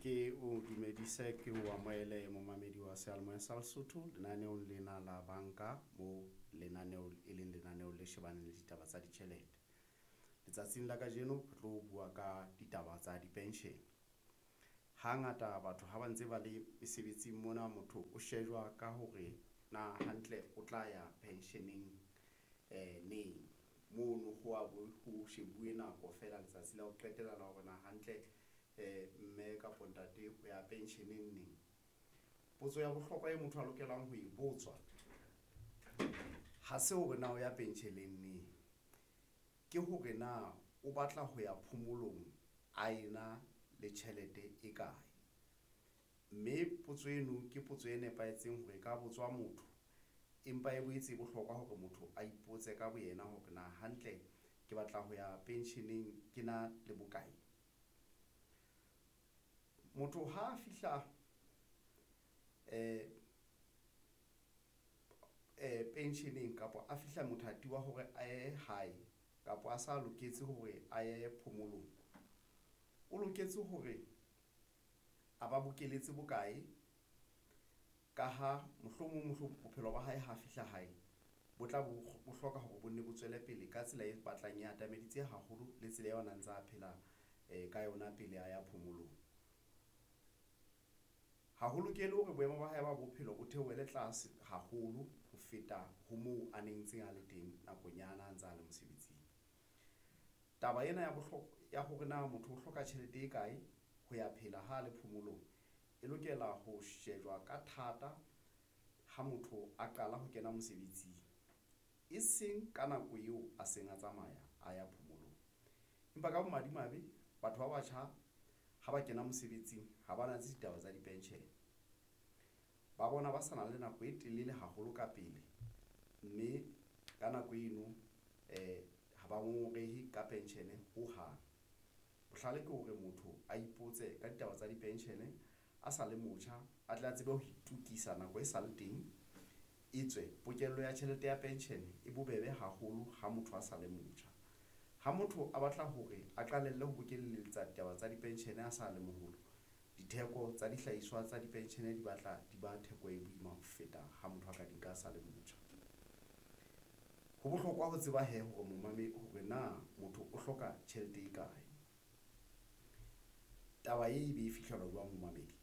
Ke o dumedise, ke o amohele momamedi wa seyalemoya sa Lesotho lenaneong lena la banka mo lenaneo e leng lenaneo le shebaneng le ditaba tsa ditjhelete. Letsatsing la kajeno re tlo bua ka ditaba tsa di-pension. Hangata batho ha ba ntse ba le mesebetsing mona, motho o shejwa ka hore na hantle o tla ya pension-eng neng mono ho a bo ho shebuwe nako feela letsatsi la ho qetela la hore na hantle mme kapa ntate o ya pension-eng neng. Potso ya bohlokwa e motho a lokelang ho e botswa ha se hore na o ya pensheleng neng, ke hore na o batla ho ya phomolong a ena le tjhelete e kae, mme potso eno ke potso e nepahetseng hore e ka botswa motho, empa e boetse e bohlokwa hore motho a ipotse ka boyena hore na hantle ke batla ho ya pensheneng ke na le bokae. Motho ha a fihla pensheneng kapa a fihla mothati wa hore a ye hae kapa a sa loketse hore a ye phomolong, o loketse hore a ba bokeletse bokae ka ha mohlomong bophelo ba hae ha fihla hae, bo tla bo hloka hore bo nne bo tswele pele ka tsela e batlang e atameditse haholo le tsela eo a na ntsa phela ka yona pele a ya phomolong. Ha ho lokele hore boemo ba hae ba bophelo bo theohele tlase haholo ho feta ho moo a neng ntseng a le teng nakong ya ha na ntsa le mosebetsing. Taba ena ya bohlokwa ya hore na motho o hloka tjhelete e kae ho ya phela ha le phomolong, e lokela ho shejwa ka thata ha motho a qala ho kena mosebetsing, e seng ka nako eo a seng a tsamaya a ya phomolong. Empa ka bomadimabe, batho ba batjha ha ba kena mosebetsing ha ba natse ditaba tsa di-pension, ba bona ba sa na le nako e telele haholo ka pele, mme ka nako eno ha ba ngongorehe ka pension ho hang. Bohlale ke hore motho a ipotse ka ditaba tsa di-pension a sa le motjha, a tle a tsebe ho itokisa nako e sale teng, e tswe pokello ya tjhelete ya pension e bobebe haholo ha motho a sa le motjha. Ha motho a batla hore a qalelle ho bokelletsa ditaba tsa di-pension a sa le moholo, ditheko tsa dihlahiswa tsa di-pension di batla di ba theko e boima ho feta ha motho a ka di nka a sa le motjha. Ho bohlokwa ho tseba hee hore hore na motho o hloka tjhelete e kae. Taba e be e fihlelwa jwang momamedi,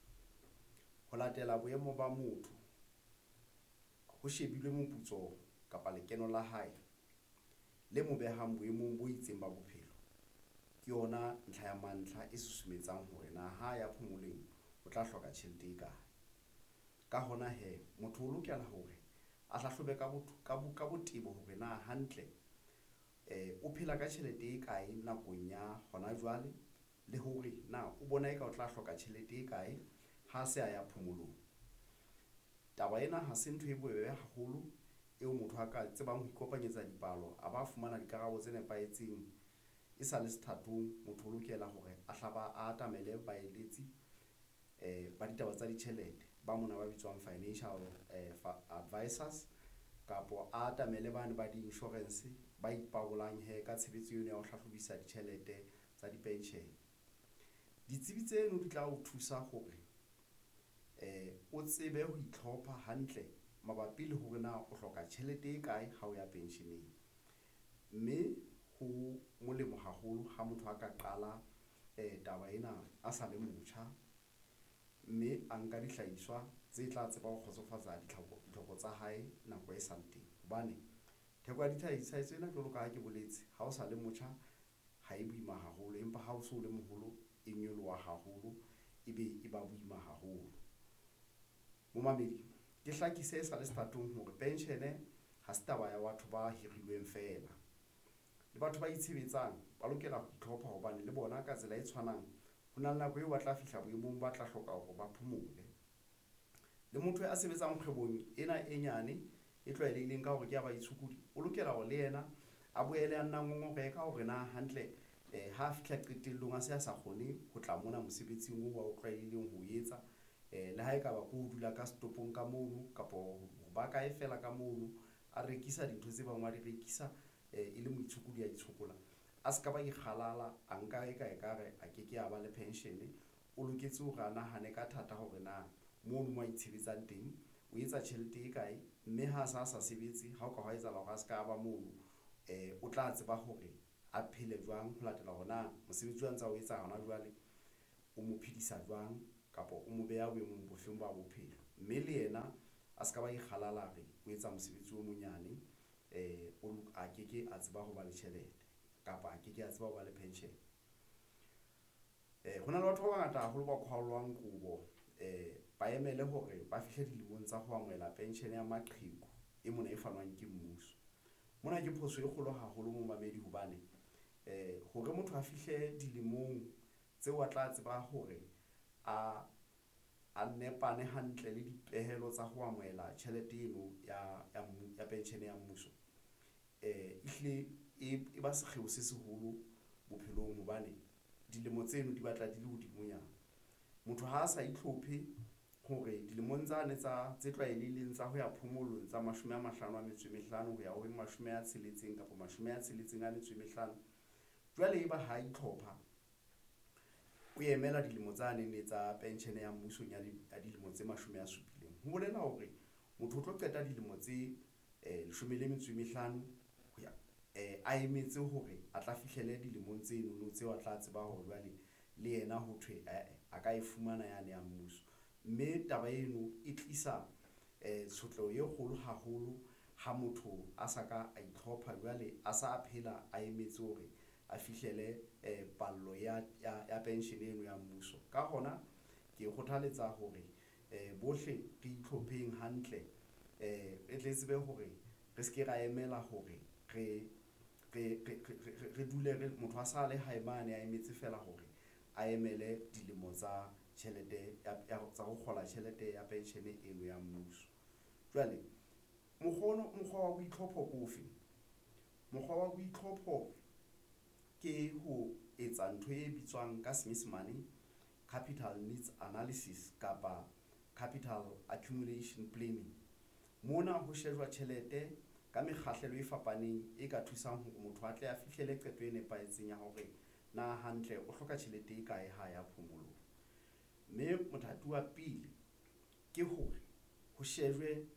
ho latela boemo ba motho ho shebilwe moputso kapa lekeno la hae le mo behang boemong bo itseng ba bophelo, ke yona ntlha ya mantlha e susumetsang hore na ha ya phomolong o tla hloka tjhelete e kae. Ka hona hee, motho o lokela hore a hlahlobe ka botebo hore na hantle o phela ka tjhelete e kae nakong ya hona jwale, le hore na o bona eka o tla hloka tjhelete e kae ha se a ya phomolong. Taba ena ha se ntho e bobebe haholo eo motho a ka tsebang ho ikopanyetsa dipalo, a ba fumana dikarabo tse nepahetseng e sale sethatong. Motho o lokela hore a hla ba atamele baeletsi ba ditaba tsa ditjhelete ba mona ba bitswang financial advisors kapa a atamele bane ba di-insurance ba ipabolang hee ka tshebetso eno ya ho hlahlobisa ditjhelete tsa di-pension. Ditsebi tseno di tla o thusa hore o tsebe ho itlhopha hantle mabapi le hore na o hloka tjhelete e kae ha o ya pensheneng, mme ho molemo haholo ha motho a ka qala taba ena a sa le motjha, mme a nka dihlahiswa tse tla tseba ho kgotsofatsa ditlhoko tsa hae nako e sale teng, hobane theko ya dihlahiswa tsena jwalo ka ha ke boletse, ha o sa le motjha ha e boima haholo, empa ha o so le moholo e nyoloha haholo, ebe e ba boima haholo. Momamedi ke hlakise e sale sethatong hore pension ha se taba ya batho ba hirilweng feela, le batho ba itshebetsang ba lokela ho itlhopha hobane le bona ka tsela e tshwanang, ho na le nako eo ba tla fihla boemong, ba tla hloka hore ba phomole. Le motho a sebetsang kgwebong ena e nyane e tlwaelehileng ka hore ke ya baitshokodi, o lokela hore le yena a boele a nna ngongorehe ka hore na hantle ha fihla qetellong, a se a sa kgone ho tla mona mosebetsing oo ao tlwaelehileng ho etsa, le ha ekaba ke ho dula ka setopong ka mono kapa ho ba kae fela ka mono, a rekisa dintho tse bang wa di rekisa e le moitshokodi a itshokola, a se ka ba ikgalala, a nka e ka ekare a ke ke a ba le pension. o loketse hore a nahane ka thata hore na mono mo a itshebetsang teng o etsa tjhelete e kae, mme ha a sa sebetse, ha o ka hwa etsahala hore a ska ba mono, o tla tseba hore a phele jwang ho latela hore na mosebetsi wa ntsa o etsa hona jwale o mo phedisa jwang kapa o mo beha boemong bo feng ba bophelo, mme le yena a ska ba ikgalala a re o etsa mosebetsi o monyane, a ke ke a tseba ho ba le tjhelete kapa a ke ke a tseba ho ba le pension. Ho na le batho ba bangata haholo ba qhwallwang kobo, ba emele hore ba fihle dilemong tsa ho amohela pension ya maqheku e mona e fanwang ke mmuso. Mona ke phoso e kgolo haholo momamedi hobane hore motho a fihle dilemong tseo a tla tseba hore a nepane hantle le dipehelo tsa ho amohela tjhelete eno ya pension ya mmuso, ehlile e ba sekgeo se seholo bophelong hobane dilemo tseno di batla di le hodimonyana. Motho ha a sa itlhophe hore dilemong tsane tsa tse tlwaelehileng tsa ho ya phomolong tsa 55 ho ya ho 60 kapa 65, jwale eba ha itlhopha, o emela dilemo tsane tsa pension ya mmuso ya dilemo tse 70. Ho bolela hore motho o tlo qeta dilemo tse 15 ho ya a emetse hore a tla fihlele dilemong tsenono tseo a tla tseba hore jwale le yena ho thwe ae a ka e fumana yane ya mmuso, mme taba eno e tlisa tshotleho e kgolo haholo ha motho a sa ka a itlhopha jwale a sa phela, a emetse hore a fihlele pallo ya pension eno ya mmuso. Ka hona ke kgothaletsa hore bohle re itlhopheng hantle, re tle tsebe hore re seke ra emela hore re dule re motho a sa le hae mane, a emetse feela hore a emele dilemo tsa tjhelete ya tsa ho kgola tjhelete ya pension eno ya mmuso. Jwale mokgwa wa boitlhompho ke ofe? Mokgwa wa boitlhompho ke ho etsa ntho e bitswang ka Senyesemane capital needs analysis kapa capital accumulation planning. Mona ho shejwa tjhelete ka mekgahlelo e fapaneng e ka thusang hore motho a tle a fihlele qeto e nepahetseng ya hore na hantle o hloka tjhelete e kae ha ya phomolong, mme mothati wa pele ke hore ho shejwe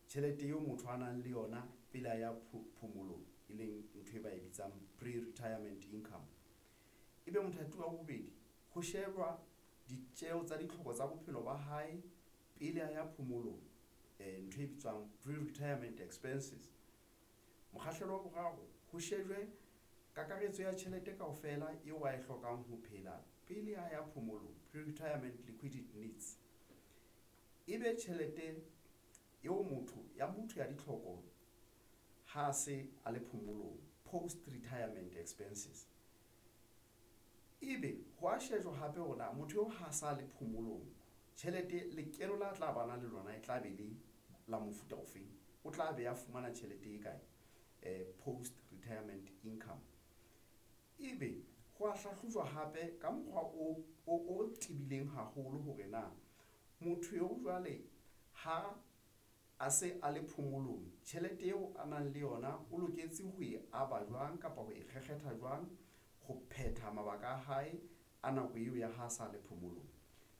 tjhelete eo motho a nang le yona pele a ya phomolong, e leng ntho e ba e bitsang pre-retirement income. Ebe mothati wa bobedi ho shejwa ditjeho tsa ditlhoko tsa bophelo ba hae pele a ya phomolong, ntho e bitswang pre-retirement expenses. Mokgahlelo wa boraro ho shejwe kakaretso ya tjhelete kaofela eo a e hlokang ho phela pele a ya phomolong, pre-retirement liquidity needs. Ebe tjhelete eo motho ya motho ya ditlhoko ha se a le phomolong, post retirement expenses. Ebe ho a shejwa hape hore na motho eo ha sa le phomolong tjhelete lekeno la tla ba na le lona e tla be le la mofuta ofeng, o tla be a fumana tjhelete e kae, post retirement income. Ebe ho a hlahlojwa hape ka mokgwa o tebileng haholo hore na motho eo jwale ha a se a le phomolong, tjhelete eo a nang le yona o loketse ho e aba jwang kapa ho e kgekgetha jwang ho phetha mabaka a hae a nako eo ya ha sa le phomolong.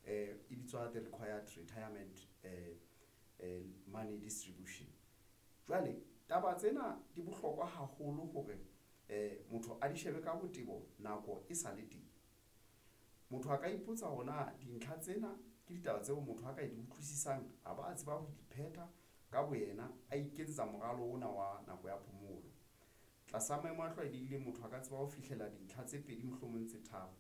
E bitswa the required retirement money distribution. Jwale taba tsena di bohlokwa haholo hore motho a di shebe ka botebo nako e sale teng. Motho a ka ipotsa hore na dintlha tsena ke ditaba tseo motho a ka di utlwisisang, a ba a tseba ho di phetha ka boyena, a iketsetsa moralo ona wa nako ya phomolo. Tlasa maemo a tlwaelehileng, motho a ka tseba ho fihlela dintlha tse pedi mohlomong tse tharo,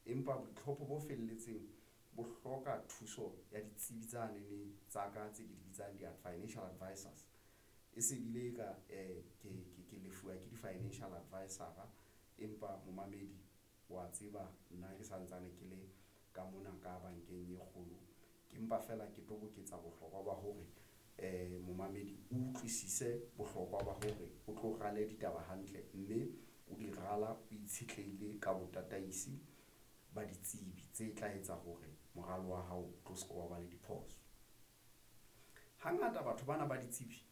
empa boitlhompho bo felletseng bo hloka thuso ya ditsebi tsanene tsa ka tse ke di bitsang di-financial advisors. E se bile ka ke lefuwa ke di-financial advisor-a, empa momamedi wa tseba nna ke santsane ke le ka mona ka bankeng e kgolo, ke mpa feela ke toboketsa bohlokwa ba hore momamedi o utlwisise bohlokwa ba hore o tlo rale ditaba hantle, mme o di rala o itshetlehile ka botataisi ba ditsebi tse tla etsa hore moralo wa hao o tlo se ke wa ba le diphoso. Hangata batho bana ba ditsebi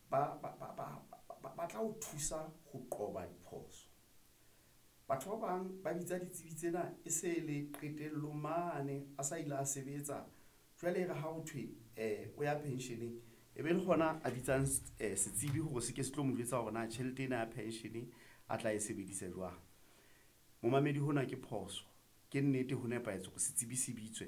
ba tla o thusa ho qoba diphoso. Batho ba bang ba bitsa ditsebi tsena e se le qetellong mane a sa ile a sebetsa. Jwale e re ha ho thwe o ya pension-eng, e be le hona a bitsang setsibi hore se ke se tlo mo jwetsa hore na tjhelete ena ya pension a tla e sebedisa jwang. Momamedi hona ke phoso, ke nnete ho nepahetse hore setsibi se bitswe.